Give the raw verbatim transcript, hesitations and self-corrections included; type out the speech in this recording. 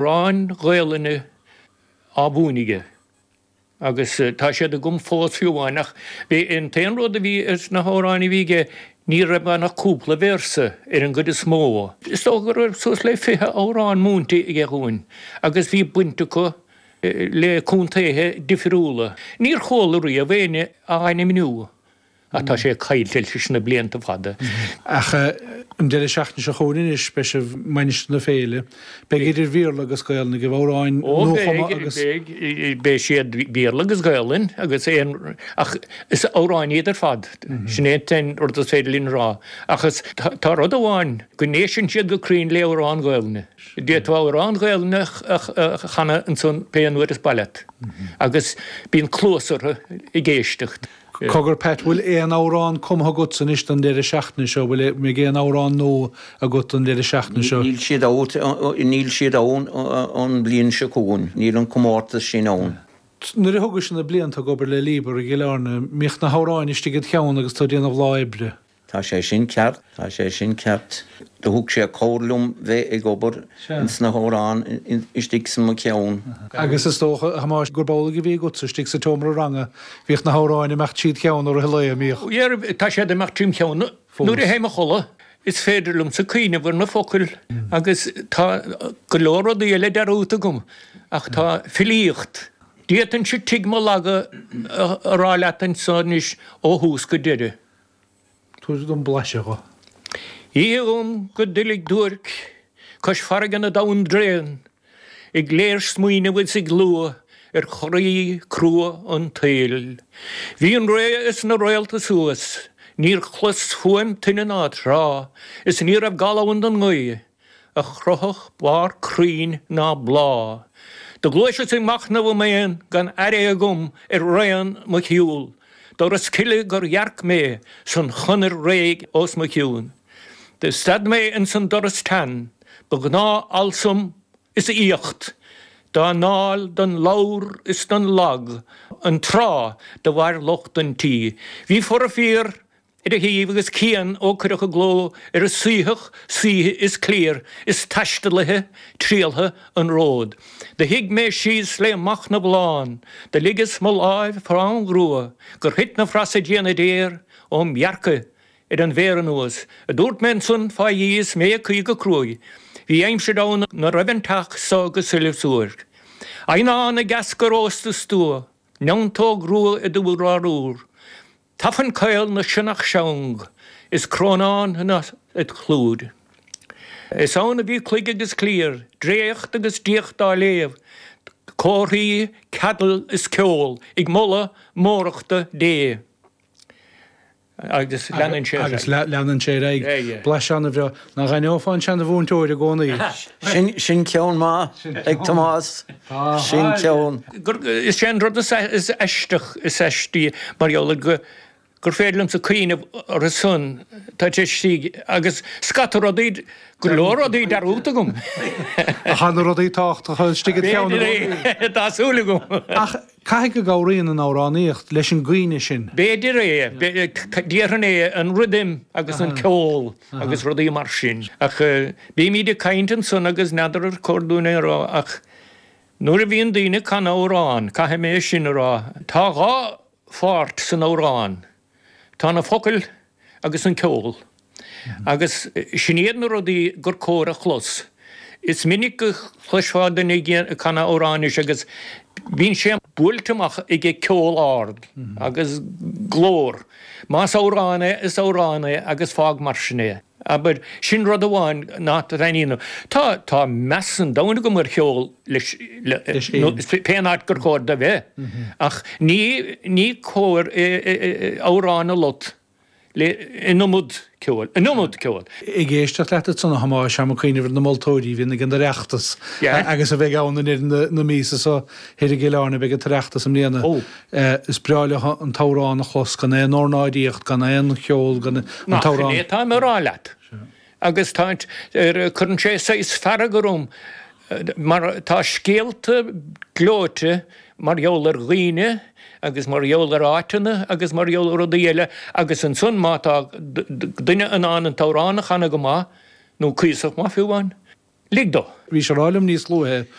Amhráin Ghaelainne á mhúineadh aige agus tá siad agam fós fiú amháin ach bhí an t-aon rud a bhí sna hamhráin a bhí aige ní raibh ann ach cúpla véarsa ar an gcuid is mó. Is dócha go raibh suas le fiche amhrán múinte aige dhúinn agus bhí baint acu le contaetha difriúla. Níor chuala riamh éinne á ainmniú. Ach tá sé caillte leis na blianta fada. Ach an deireadh seachtaine seo chugainn anois, beidh sibh i Mainistir na Féile. Beidh idir Bhéarla agus Gaelainn agaibh, amhráin nuachumtha agus. Ó beidh, beidh siad Béarla agus Gaelainn agus aon, ach is amhráin iad ar fad. Sin é an t-aon rud is féidir linn a rá. Ach is, tá rud amháin, go n-éisteann siad go cruinn le amhrán Gaelainne. D'fhéadfá amhrán Gaelainne a chanadh ansan pé an uair is maith leat agus bíonn cluas orthu ag éisteacht. Cogar Pat, bhfuil aon amhrán cumtha agatsa anois don deireadh seachtaine seo? Bhfuil mbeidh aon amhrán nua agat don deireadh seachtaine seo? Níl siad out, níl siad ann an bhliain seo chugainn. Níl an comórtas sin ann. Nuair a thugais na blianta ag obair le Líbar i gCill Airne, mbíodh na hamhráin istigh id cheann agus tú ag déanamh lá oibre? Tá sé sin ceart, tá sé sin ceart. Do thug sé cabhair liom bheith ag obair ins na hamhráin istigh sa mo cheann. Agus is dócha, a Thomáis, gurb amhlaidh a bhí agatsa istigh sa tseomra ranga, bhíodh na hamhráin ag imeacht tríd cheann i rith an lae, an mbíodh? Dhera, tá siad ag imeacht tríom cheann nuair a théim a chodladh. Is féidir liomsa cuimhneamh ar na focail agus tá go leor rudaí eile dearúdta agam ach tá filíocht. D'fhéadfainnse Tigh mo Laga a rá leat anso anois ó thús go deireadh. Tabhair dom blaiseadh dho. Oíche dhom go doiligh duairc cois farraige na dtonn dtréan, ag léirsmaoineamh is ag lua ar chroí crua an tsaoil. Bhí an ré is na réalta suas, níor chlos fuaim toinne ná trá, is ní raibh gal ann don ngaoth. a chroithfeadh barr crainn ná bláth. Do ghluaiseas ag machnamh i m'aon gan aire agam ar raon mo shiúil. Doras cille gur dhearc mé san chonair réidh os mo chionn. Do stad mé ins an doras teann, ba ghnáth-alsam is aíocht dá ndáil don ladhar is don lag an tráth do mhair lucht an tí. Bhí fora fíor ar a thaobh agus cian ó cuireadh i gcló ar a suífeadh saoithe is cliar is taistealaithe trialltha an ród. Do shuigh mé síos le machnamh lán, do ligeas mo láimh fám ghrua gur thit na frasa diana daor óm dhearcadh ar an mhéar anuas, a dúirt mé ansan fá Dhia is mé ag caoi go cruaidh. Bhí aimsir ann 'na raibh an teach so go soilbh suairc. Eidhneán ag eascar ósta stua, neantóg rua i d'urlár úr. Tafann caol na sionnach seang is crónán id chlúid. Is ann a bhí cloig agus cliar, dréacht agus diacht á léamh, comharthaí, ceadail is ceol ag moladh mórachta Dé. Agus leanann sé ar aghaidh. Agus leanann sé ar aghaidh. Blaiseadh an-bhreá. Nach aithneofá an seana-mhúinteoir i gcónaí? Sin ceann maith ag Tomás. Sin ceann. Is é an rud is aisteach, is aistí mar gheall ar go gur féidir liomsa cuimhneamh orthu san, tá sé istigh agus scata rudaí, go leor rudaí dearúdta agam. Ach tá na rudaí tábhachtacha istigh id cheann i gcónaí. B'fhéidir é, tá súil agam. Ach caithfidh go gcabhraíonn an amhránaíocht leis an gcuimhne sin. B'fhéidir é, déarfainn é, an rithim agus an ceol agus rudaí mar sin. Ach bímid ag caint ansan agus n'fheadar ar chóir dúinn é a rá ach Nuair a bhíonn daoine ag canadh amhrán, caithfidh mé sin a rá, tá dhá pháirt san amhrán, tá na focail agus an ceol. Agus sin iad na rudaí gur cóir a chlos. Is minic go chloisfeá duine ag canadh amhráin anois agus bíonn sé buailte amach ag ceol ard agus glór. Más amhrán é, is amhrán é agus fág mar sin é. Abair, sin rud amháin nach dtaitníonn. Tá, tá meas an domhain agam ar cheol leis, nó pén áit gur chóir do bheith, ach ní, ní cóir amhrán a lot le, an iomad ceoil, an iomad ceoil. Ag éisteacht leat ansan, a Thomáis, táim ag cuimhneamh ar na moltóirí a bhíonn ag an Oireachtas agus a bheidh ann i ndeireadh na míosa so thoir i gCill Airne, beidh an tOireachtas i mbliana. Is breá leo an t-amhrán a chlos, gan aon ornáidíocht, gan aon cheol, gan an Nach t-amhrán. in é atáim a rá leat. Agus tá, cuireann sé saghas fearg orm mar tá scéalta gleoite mar gheall ar dhaoine agus mar gheall ar áiteanna agus mar gheall ar rudaí eile agus ansan má tá duine in ann an t-amhrán a chanadh go maith, nó cuíosach maith fiú amháin, Lig dó. Bhís ag rá liom níos luaithe